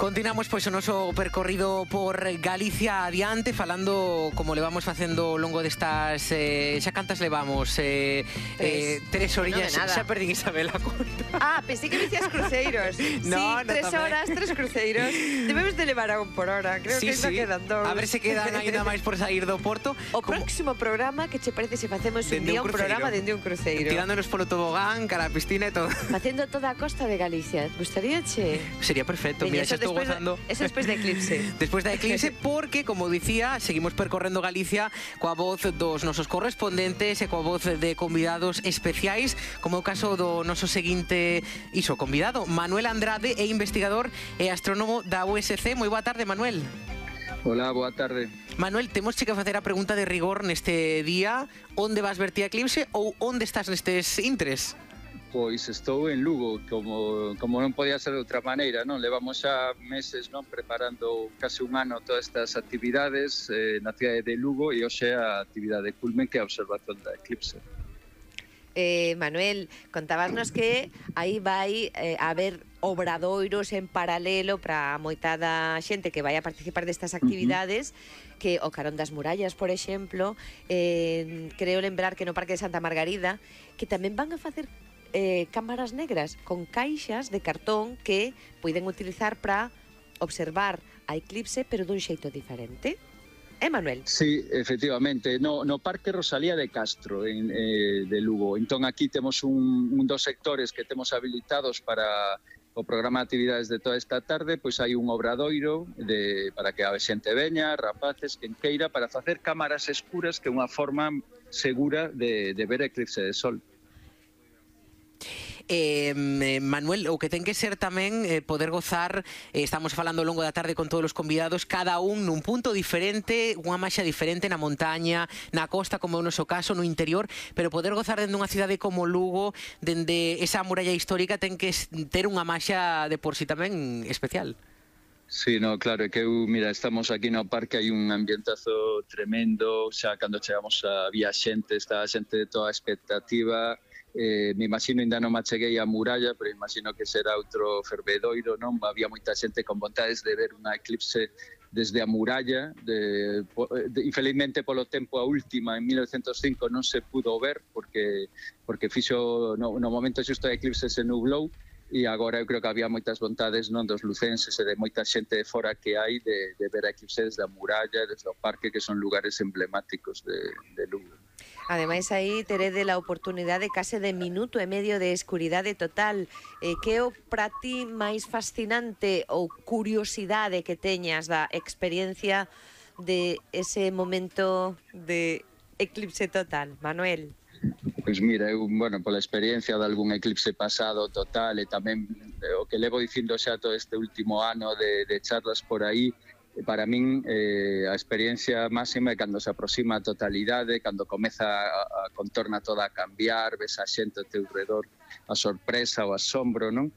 Continuamos pois o noso percorrido por Galicia adiante, falando como levamos facendo ao longo destas xa cantas levamos, tres orillas, xa perdín Isabel a conta. Pensei que dicías cruceiros. No, sí, 3 horas, 3 cruceiros. Debemos de levar a un por hora. Creo que ainda quedan 2. A ver se quedan ainda máis por sair do Porto. O próximo programa, que che parece se facemos un día un programa dende un cruceiro? Tirándonos polo tobogán, cara a piscina e todo. Facendo toda a costa de Galicia. Gustaríache? Sería perfecto, mira, xa estou gozando. Eso despois da eclipse. Despois da eclipse, porque, como dicía, seguimos percorrendo Galicia coa voz dos nosos correspondentes e coa voz de convidados especiais, como o caso do noso seguinte convidado, Manuel Andrade, é investigador e astrónomo da USC. Moi boa tarde, Manuel. Hola, boa tarde. Manuel, temos que facer a pregunta de rigor neste día. Onde vas ver ti a eclipse ou onde estás nestes intres? Pois estou en Lugo, como non podía ser de outra maneira, non? Levamos xa meses, non, preparando case un ano todas estas actividades na cidade de Lugo, e hoxe a actividade culmen, que é a observación da eclipse. Manuel, contabasnos que aí vai haber obradoiros en paralelo para moitada xente que vai a participar destas actividades, que o Carón das Murallas, por exemplo, creo lembrar que no Parque de Santa Margarida, que tamén van a facer cámaras negras con caixas de cartón que poden utilizar para observar a eclipse, pero dun xeito diferente. Manuel? Sí, efectivamente, no Parque Rosalía de Castro, de Lugo. Entón aquí temos un dos sectores que temos habilitados para o programa de actividades de toda esta tarde. Pois hai un obradoiro para que a xente veña, rapaces, quen queira, para facer cámaras escuras, que é unha forma segura de ver a eclipse de sol. Manuel, o que ten que ser tamén poder gozar, estamos falando ao longo da tarde con todos os convidados, cada un nun punto diferente, unha maxa diferente, na montaña, na costa, como é o noso caso, no interior, pero poder gozar dende unha cidade como Lugo, dende esa muralla histórica, ten que ter unha maxa de por si tamén especial. Sí, no, claro, é que mira, estamos aquí no parque, hai un ambientazo tremendo, xa cando chegamos había xente, está a xente de toda a expectativa. Me imagino, ainda non me acheguei a muralla, pero imagino que será outro fervedoiro, non? Había moita xente con vontades de ver unha eclipse desde a muralla. Infelizmente, polo tempo a última, en 1905, non se pudo ver, porque fixo, no momento xusto a eclipse se nublou, e agora eu creo que había moitas vontades, non, dos lucenses e de moita xente de fora que hai de ver a eclipse desde a muralla, desde o parque, que son lugares emblemáticos de Lugo. Ademais, aí terede a oportunidade case de minuto e medio de escuridade total. Que é o para ti máis fascinante ou curiosidade que teñas da experiencia de ese momento de eclipse total, Manuel? Pois mira, eu, pola experiencia de algún eclipse pasado total, e tamén o que levo dicindo xa todo este último ano de charlas por aí, para min a experiencia máxima é cando se aproxima a totalidade, cando comeza a contorna toda a cambiar, ves a xente ao teu redor, a sorpresa, o asombro, non?